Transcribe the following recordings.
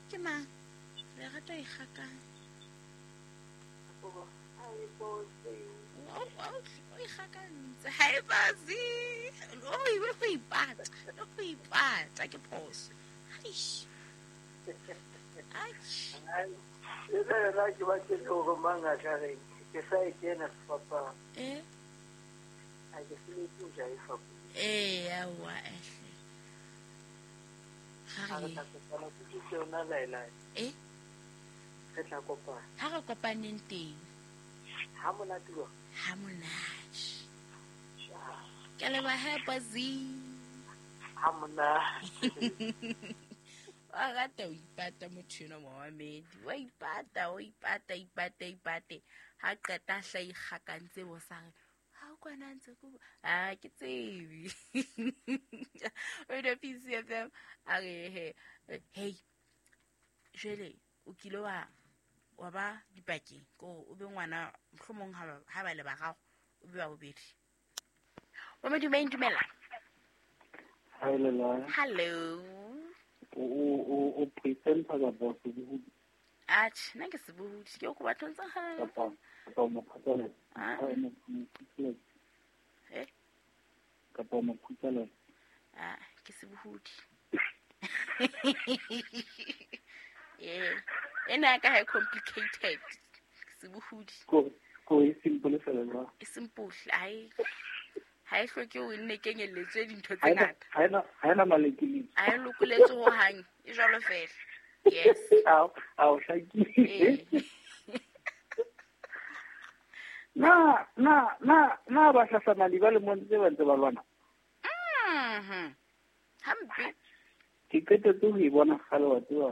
Ke mang? Lerato e kgakang. O ikgakantse ha e base. O e go ipata, le go ipata ke phoso. Aish. Aish. Le nna ke batle hore mang a ka reng ke sa e kena sefapano. Eh? Ha ke sebetse ho jaifa. Eh, aowa ehle. Ha Ga re re tla kopana ke dutse yona laelae. eh Re tla kopana. ha re kopaneng teng Ha monate jwang? ha monate. Ke leboha Bazi. Ha monate. Wa rata ho ipata motho enwa momamedi. Wa ipata, o ipata, ipate, ipate. Ha qeta a hla ikgakantse bo sa re ha o kwana ntse ko a ke tsebe. Radio PCFM a re he hey jwale o kile wa ba dipakeng ko o be ngwana mohlomong ha ba le bararo o be wa bobedi. Wa modumeng dumela. Hi, Lela. Hello. O presenter kapa sebohodi Atjhe, nna ke sebohodi ke o ko batlong tsa hao. kapa kapa mophatlalatsi? Ah. Ah, mophatlalatsi. Eh? Kapa mophatlalatsi. Ah, ke sebohodi. Eh, ena ya ka ha e complicated. Ke sebohodi. Ko e simple fela jwang? E simple, ha e hloke o nne kenyelletswe dintho Ha tse ena ngata. ha ena ha ena malekeleke. Ha e lokoletswe hohang, e jwalo fela. Yes. A o hlakile. Eh. Na na na na ba hlahlamali ba lemong tse ba ntse ba lwana. Mhm. Hampe. Ke qetetse ho e bona kgale wa tseba.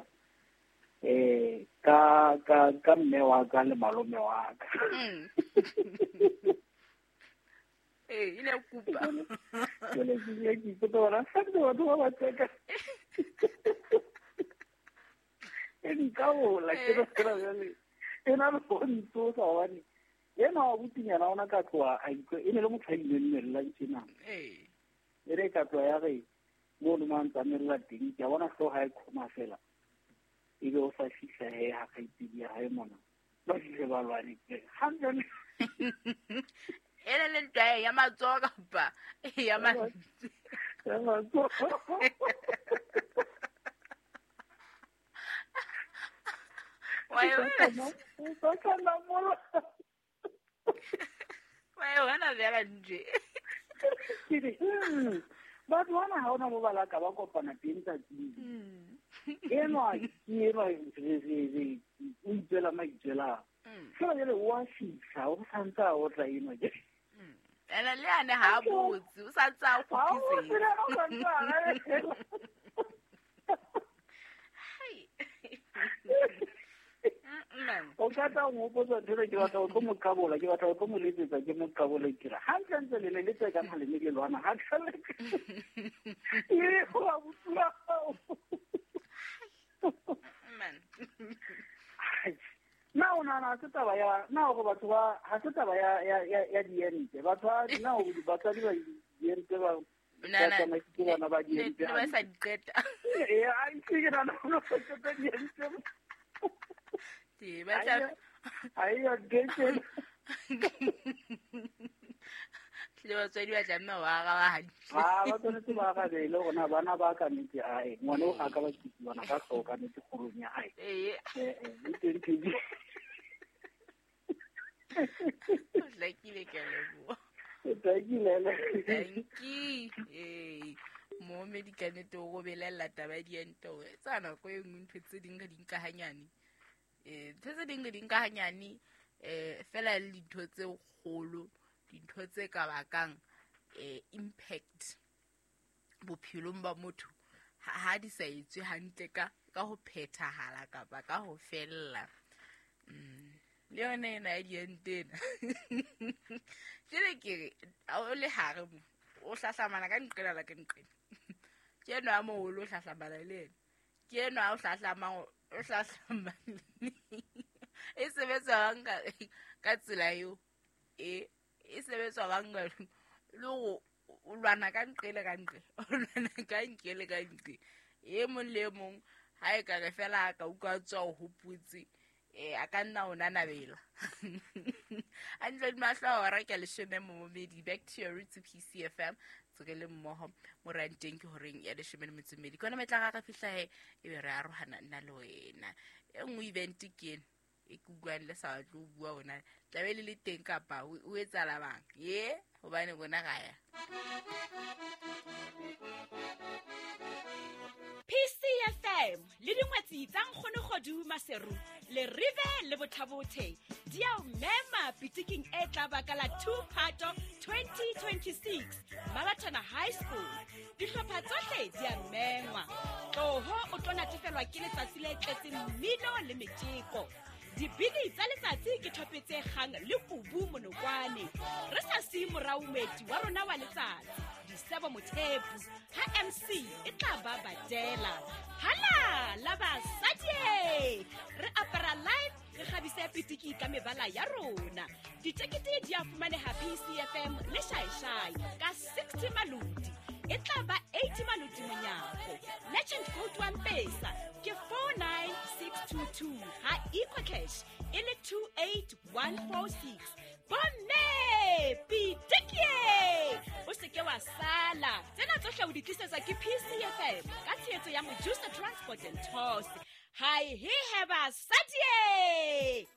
Ka ka ka mme wa ka le malome wa ka. Eh, ile kupa. Jwale ke ile ke ipotsa hore santse batho ba ba tseka. E nkaola ke re fela jwale. E na le ho ntsosa hobane ena wa botinyana ona ka tloha a utlwa e ne le motho a ileng tjena. Eh. E re ka tloha ya re mono mo a ntsamella teng ke a bona hlooho ha e qhoma fela. Ebe o sa fihla he ha kgaitsedi ya hae mona. Ba fihle ba lwane. Hantle. Ele le ntwa ya matsoho kapa ya mantswe. Ya matsoho. Wa e bona? O sa namola. Wa e bona fela nje. Ke re, batho bana ha hona mo ba laka ba kopana teng tsatsing. Enwa ke enwa re o itswela maitswelang. Fela jwale o a fihla, o santse a otla enwa ke. Ene le yane ha a botse, o sa ntse a Ha o kgutlisetse. tsela o santse a arabela. Hai. Man. O ka tla o nhopotsa ntho ena, ke batla ho tlo mo qabola, ke batla ho tlo mo letsetsa, ke mo qabole ke re, hantlentle le ne le tsekang ha le ne le lwana, ha tlhole. E, o a botsuwa hao. Man. Ai, na o nahana ha se taba ya, na hore batho ba, ha se taba ya, ya, ya, ya diente. Batho ba, na hore batswadi ba diente ba, ba Nana, tsamaisitse bana ba ne diente ne ba sa hantle. di qeta. Ee, ai, ke nahana hore ba qeta diente. Ee, ba tla Ha e ya ntho e. Le batswadi ba tlameha ho araba hantle. Ha, ba tshwanetse ba arabele hore na bana ba ka nnete ae, ngwana o ha ka ba tsitsibana ka hlooho ka nnete kgolong ya hae. Ee. Eh, eh, e teng ntho e. O hlakile, ke a leboha. Hlakile, le. Thank you. Ee. Momedi ka nnete o robelella taba ya diente hore tsa nako e nngwe ntho tse ding re di nka hanyane. Ntho tse ding re di nka hanyane, fela le dintho tse kgolo, dintho tse ka bakang impact bophelong ba motho ha di sa etswe hantle ka ho phethahala kapa ka ho fella. Le yona ena ya diente ena. Jwale ke re, ha o le hare mo, o hlahlamana ka nqena la ka nqena. Ke enwa a moholo o hlahlamana le yena. Ke enwa a o hlahlamang, o hlahlamana. E sebetsa bang ka tsela eo. E sebetswa bang ka le hore o lwana ka nqele ka nqe. O lwana ka nqele ka nqe. E mong le e mong Ha e ka re fela a ka utlwa tswa o hopotse a ka nna o nanabela. Hantle di mahlo a hora ke 10 momedi. Back to your roots PCFM. Tsoke le mmoho moranteng ke horeng ya 12. Ke yona metla ga re fihla he e be re arohana nna le wena. E nngwe event ke ena e ke utlwang le sa batle ho bua ona tlabe le le teng kapa o etsahala bang ye hobane rona ga ya. PCFM le dingwetsi tsa Nkgono Maseru le Rive le Bothabothe di a o mema pitiking e tla baka la 2 Phato 2026 Mabatana High School. Dihlopha tsohle di a mengwa. Tloho o tlo natefelwa ke letsatsi le tletseng mmino le metjeko. Dibini tsa letsatsi ke thope tse kgang le kubu monokwane. Re sa siye morao moeti wa rona wa letsatsi Disebo Mothepu ha MC e tla ba badela. Hala la basadi re apara live re kgabise pitiki ka mebala ya rona. Ditekete di a fumaneha PCFM le Shaishai ka 60 maloti. E tla ba 80 maloti monyako. Legend code wa Mpesa ke 49622 ha EcoCash e le 28146. Bomme pitiki o se ke wa sala. Tsena tsohle o di tlisetsa ke PCFM ka tshehetso ya Mojusa Transport and Tours. Hi he heba sadie.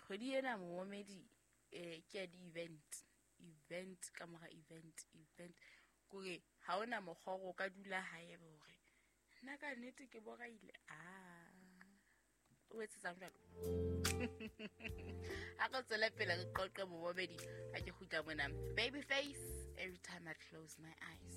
Kgwedi ena momedi ke ya di-event event ka mora event event kore ha ona mokgwa o ka dula hae hore nna ka nnete ke boraile a o etsetsang jwalo. Ha re tswele pele re qoqe momedi ha ke kgutla mona. Babyface, every time I close my eyes.